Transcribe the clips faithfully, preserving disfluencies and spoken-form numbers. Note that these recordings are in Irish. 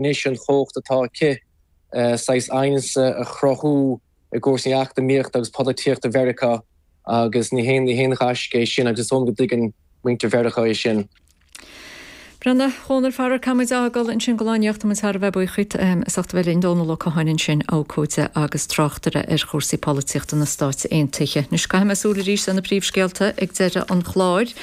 Anois an chumhacht atá aici saghas aighneas a chruthú i gcúrsaí eacnamaíochta agus polaitíochta Mheiriceá agus ní haon ní haon ghaisce é sin agus is dóigh liom go dtuigeann muintir Mheiriceá é sin. Bhuel, a Dhónaill, faraor caithfidh muid a fhágáil ansin don lá inniu, tá muid thar a bheith buíoch díot as ucht a bheith linn, Dónal Ó Catháin ansin, abhcóide agus tráchtaire ar chúrsaí polaitíochta na Stáit Aontaithe. Anois caithfidh mé súil arís ar na príomhscéalta ag deireadh an chláir.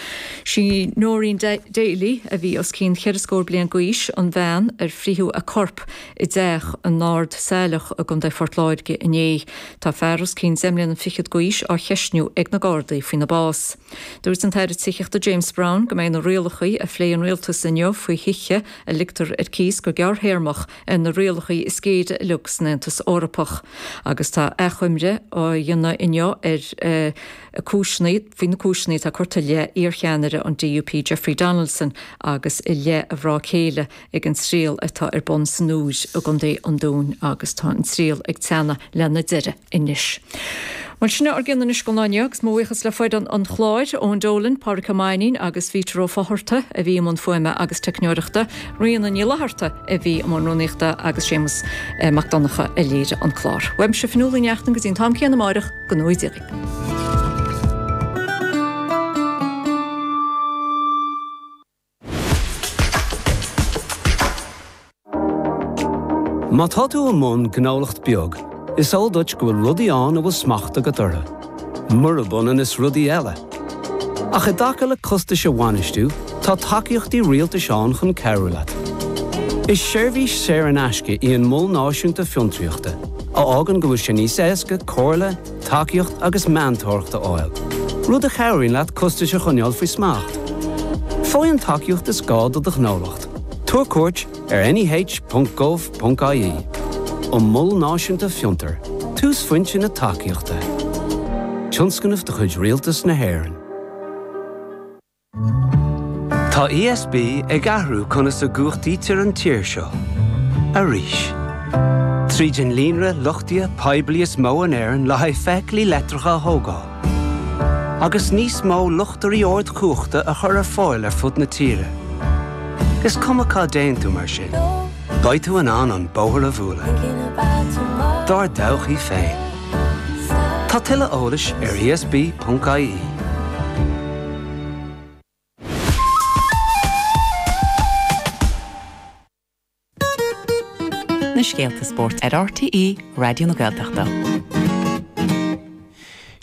Sí Noreen Daly a bhí os cionn cheithre scór bliain d'aois, an bhean ar frítheadh a corp i dteach in Ard Saileach i gContae Phort Láirge inné. Tá fear os cionn deich mbliana fichead d'aois á cheistniú ag na Gardaí faoina bás. Dúirt an tAire Tithíochta James Browne go mbeidh na rialacha a phléigh an rialtas inniu faoi thithe a ligtear ar cíos go gearrthéarmach ar na rialacha is géire uilig san Aontas Eorpach. Agus tá achoimre á dhéanamh inniu ar uh, cúiseanna faoi na cúiseanna atá curtha i leith iarcheannaire an DUP Jeffrey Donaldson agus i leith a mhná céile ag an triail atá ar bun san Iúr i gContae an Dúin agus tá an triail ag teannadh lena deireadh anois. Well sin ár gcionn anois don lá inniu agus mo bhuíochas le foireann an chláir Eoin Dolan, Pádraig Ó Mainnín agus Vítor Ó Fátharta a bhí i mbun fuaime agus teicneoireachta, Ríona Ní Fhlatharta a bhí i mbun rúnaíochta agus Séamus eh, Mac Donncha a léirigh an clár. Uaimse Fionnuala Ní Neachtain go dtí an t-am céanna amárach go ngnóthaí Dia dhaoibh. Má tá tú i mbun gnólacht beag, is eol duit go bhfuil rudaí ann a bhfuil smacht agat orthu. Murab ionann is rudaí eile. Ach i dtaca le costais a bhainistiú, tá tacaíochtaí rialtais ann chun cabhrú leat. Is seirbhís saor in aisce í an Mol Náisiúnta Fiontraíochta, a fhágann go bhfuil sé níos éasca comhairle, tacaíocht agus meantóireacht a fháil, rud a chabhraíonn leat costais a choinneáil faoi smacht. Faigh an tacaíocht is gá do do ghnólacht. Tabhair cuairt ar neh.gov.ie. An Mol Náisiúnta Fiontar, túsphointe na tacaíochta. Tionscnamh de chuid Rialtas na hÉireann. Tá ESB ag athrú conas a chumhachtaítear an tír seo. Arís. Tríd an líonra luchtaithe poiblí is mó in Éirinn le haghaidh feithiclí leictreacha a thógáil. Agus níos mó luchtairí ardchumhachta a chur ar fáil ar fud na tíre. Is cuma cá dtéann tú mar sin. Beidh tú in ann an bóthar a bhualadh. Dár dtodhchaí féin. Tá tuilleadh eolais ar ESB.ie. Na scéalta spóirt ar RTÉ Raidió na Gaeltachta.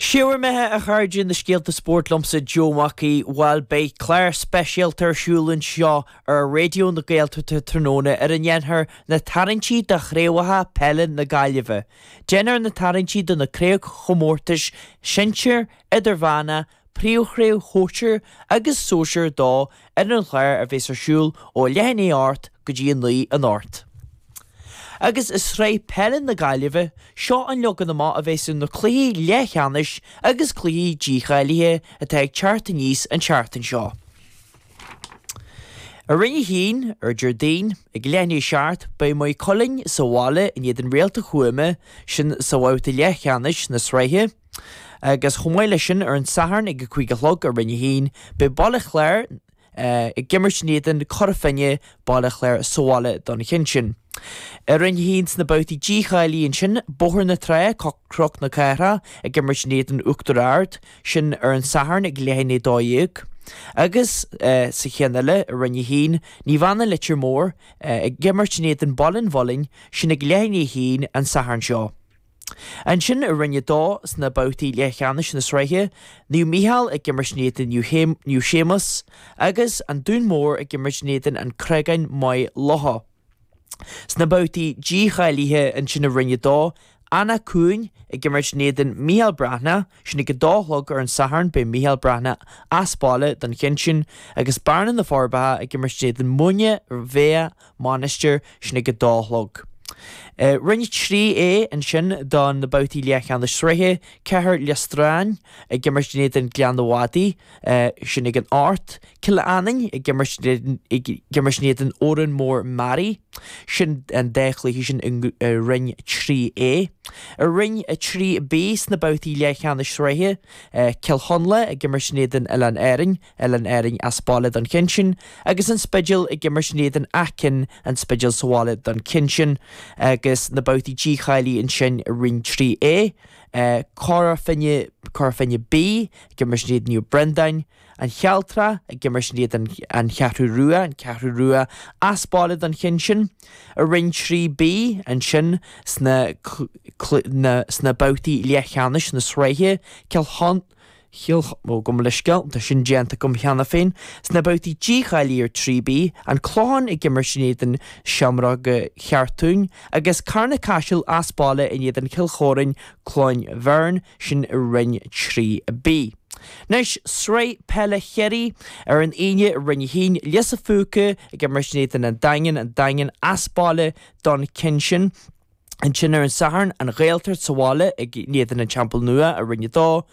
Sé bhur mbeatha a chairde na scéalta spóirt liomsa Joe Mac Aoidh bhuel beidh clár speisialta ar siúl anseo ar Raidió na Gaeltachta tráthnóna ar a ndéanfar na tarraingtí do chraobhacha peile na Gaillimhe. Déanfar na tarraingtí do na craobhchomórtais sinsir, idirmheánach, príomhchraobh shóisir agus sóisir dó ar an chlár a bheas ar siúl ó leath i ndiaidh a hocht go dtí a naoi anocht. Agus i Sraith Peile na Gaillimhe, seo an leagan amach a bheas ar na cluichí leathcheannais agus cluichí dícháilithe atá ag teacht aníos an tseachtain seo. I Roinn a hAon, ar Déardaoin, ag leath i ndiaidh a seacht, beidh Maigh Cuilinn sa bhaile in éadan Réalta Thuama, sin sa bhabhta leathcheannais na sraithe. Agus chomh maith leis sin, ar an Satharn ag a cúig a chlog i Roinn a hAon, beidh Baile Chláir ag imirt in éadan Cora Finne, Baile Chláir sa bhaile don cheann sin. I Roinn a hAon sna babhtaí dícháilithe ansin, Bóthar na Trá, Cnoc na Cathrach ag imirt in éadan Uachtar Ard, sin ar an Satharn ag leath i ndiaidh a dó dhéag. Agus sa cheann eile i Roinn a hAon, Naomh Anna Leitir Móir ag imirt in éadan Baile an Mhuilinn, sin ag leath i ndiaidh a haon an Satharn seo. Ansin i Roinn a Dó sna babhtaí leathcheannais na sraithe, Naomh Mícheál ag imirt in éadan Naomh Séamus agus An Dún Mór ag imirt in éadan An Creagán Maigh Locha. Sna babhtaí dícháilithe ansin i Roinn a Dó, Eanach Cuain ag imirt in éadan Mícheál Breathnach, sin ag a dó a chlog ar an Satharn, beidh Mícheál Breathnach as baile don cheann sin, agus Bearna na Forbacha ag imirt in éadan Muine Mheá Mainistir, sin ag a dó a chlog. Roinn trí A ansin do na babhtaí leathcheannais sraithe, Cathair Lios Dráin ag imirt in éadan Gleann an Mhadaidh, sin ag an ocht, Cill Annain ag imirt ag imirt in éadan Órán Mór Mearaí, sin an dá chluiche sin i Roinn trí A. I Roinn a trí B sna babhtaí leathcheannais sraithe, Cill Chonla ag imirt in éadan Oileáin Árainn, Oileáin Árainn as baile don cheann sin, agus An Spidéal ag imirt in éadan Áth Cinn, An Spidéal sa bhaile don cheann sin. Agus na babhtaí dícháilithe ansin i Roinn trí A, Cora Finne, Cora Finne B ag imirt in éadan Naomh Breandáin, An Chealtrach ag imirt in éadan An Cheathrú Rua, An Cheathrú Rua as baile don cheann sin. I Roinn trí B ansin sna sna babhtaí leathcheannais na sraithe, Cill Chon. Chill, ó, gabh mo leithscéal, tá sin déanta agam cheana féin. Sna babhtaí dícháilithe ar trí B, An Clochán ag imirt in éadan Seamróga Cheartúin agus Carna Caiseal as baile in éadan Chill Chóráin, Cluain Bheirn, sin i Roinn trí B. Anois, Sraith Peile Chiarraí ar an Aoine i Roinn a haon, Lios a' Phúca ag imirt in éadan An Daingean, An Daingean as baile don cheann sin. Ansin ar an Satharn, An Ghaeltacht sa bhaile ag in éadan An Teampall Nua i Roinn a dó.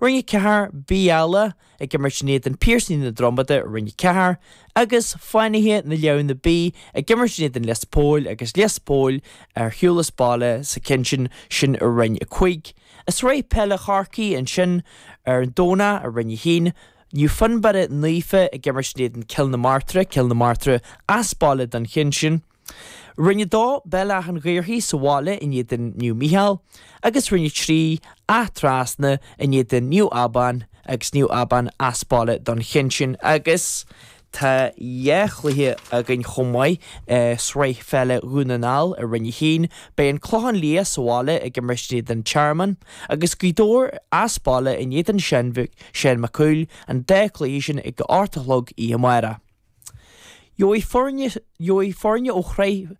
Roinn a ceathair, Beala ag imirt in éadan Piarsaigh na Dromada i Roinn a ceathair, agus Fánaithe na Leamhna B ag imirt in éadan Lios Póil agus Lios Póil ar shiúl as baile sa cheann sin, sin i Roinn a cúig. I Sraith Peile Chorcaí ansin ar an Domhnach i Roinn a haon, Naomh Fionnbarra Naofa ag imirt in éadan Cill na Martra, Cill na Martra as baile don cheann sin. Roinn a dó, Béal Átha an Ghaorthaidh sa bhaile in éadan Naomh Mícheál, agus Roinn a trí, Áth Trasna in éadan Naomh Abán agus Naomh Abán as baile don cheann sin. Agus tá dhá chluiche againn chomh maith i Sraith Pheile Dhún na nGall i Roinn a haon. Beidh an Clochán Liath sa bhaile ag imirt in éadan Tearmann, agus Gaoth Dobhair as baile in éadan Seán Mac Cumhaill, an dá chluiche sin ag a hocht a chlog oíche amárach. Gheobhaidh foirne, gheobhaidh foirne ó Shraith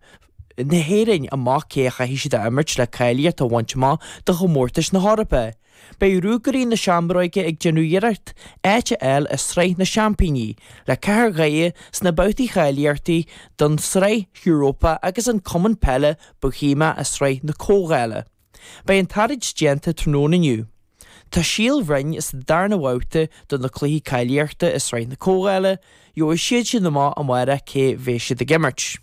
na hÉireann amach cé a chaithfidh siad a imirt le cáilíocht a bhaint amach do chomórtais na hEorpa. Beidh Ruagairí na Seamróige ag déanamh iarracht áit a fháil i Sraith na Seaimpíní le Cathair Dhoire sna babhtaí cháilíochta don tSraith Europa agus an Cumann Peile Bohemia i Sraith na Comhdhála. Beidh an tarraingt déanta tráthnóna inniu. Tá Síol Bhroin sa darna bhabhta do na cluichí cáilíochta i Sraith na Comhdhála, gheobhaidh siad sin amach amárach cé bheidh siad ag imirt.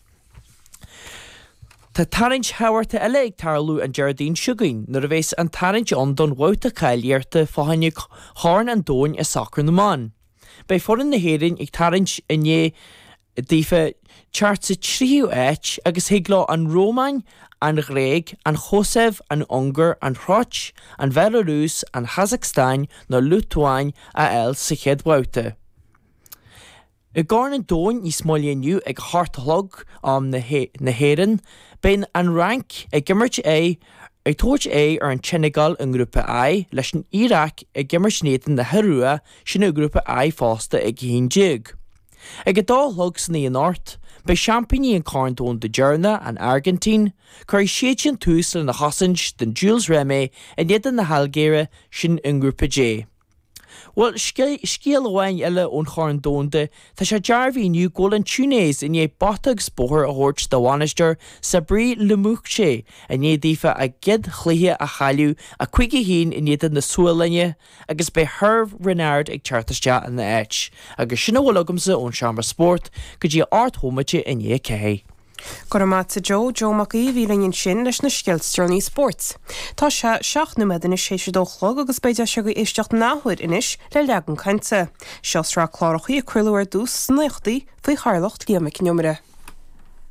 Tá tarraingt thábhachtach eile ag tarlú an Déardaoin seo chugainn nuair a bheas an tarraingt ann don bhabhta cáilíochta fá choinne Chorn an Domhain i sacar na mban. Beidh foireann na hÉireann ag tarraingt i ndiaidh daofa teacht sa tríú háit agus thig leo an Rómáin, an Ghréig, an Chosaiv, an Ungáir, an Chróit, an Bhealarúis, an Chasacstáin nó Liotuáin a fháil sa chéad bhabhta. I gCorn an Domhain níos moille inniu ag a hocht a chlog am na hÉireann, beidh an Fhrainc ag imirt aghaidh ag tabhairt aghaidh ar an tSeineagáil i nGrúpa I, leis an Iaráic ag imirt in éadan na hIorua, sin i nGrúpa I fosta ag a haon déag. Ag a dó a chlog san oíche anocht, beidh seaimpíní an Chorn Domhanda deireanach, an Airgintín, cuirfidh siad sin tús lena chosaint don Jules Rimet in éadan na hAilgéire, sin i nGrúpa J. Bhuel, scéal amháin eile ón Chorn Domhanda, tá sé dearbhaithe inniu go bhfuil an Túinéis i ndiaidh bata agus bóthar a thabhairt dá bhainisteoir Sabri Lamouchi i ndiaidh daofa a gcéad chluiche a chailleadh a cúig a haon in éadan na Sualainne agus beidh Herve Renard ag teacht isteach ina áit. Agus sin a bhfuil agamsa ón Seomra Spóirt go dtí a ocht bhomaite i ndiaidh a ceathair. Go raibh maith agat a Joe, Joe Mac Aoidh a bhí linn ansin leis na scéalta is deireanaí spóirt. Tá sé seacht nóiméad anois théis a dó a chlog agus beidh deis agaibh éisteacht an athuair anois le Leagan Cainte. Seo sraith clárachaí a craoladh ar dtús sna naochadaí faoi chathaoirleacht Liam Mhic Con Iomaire.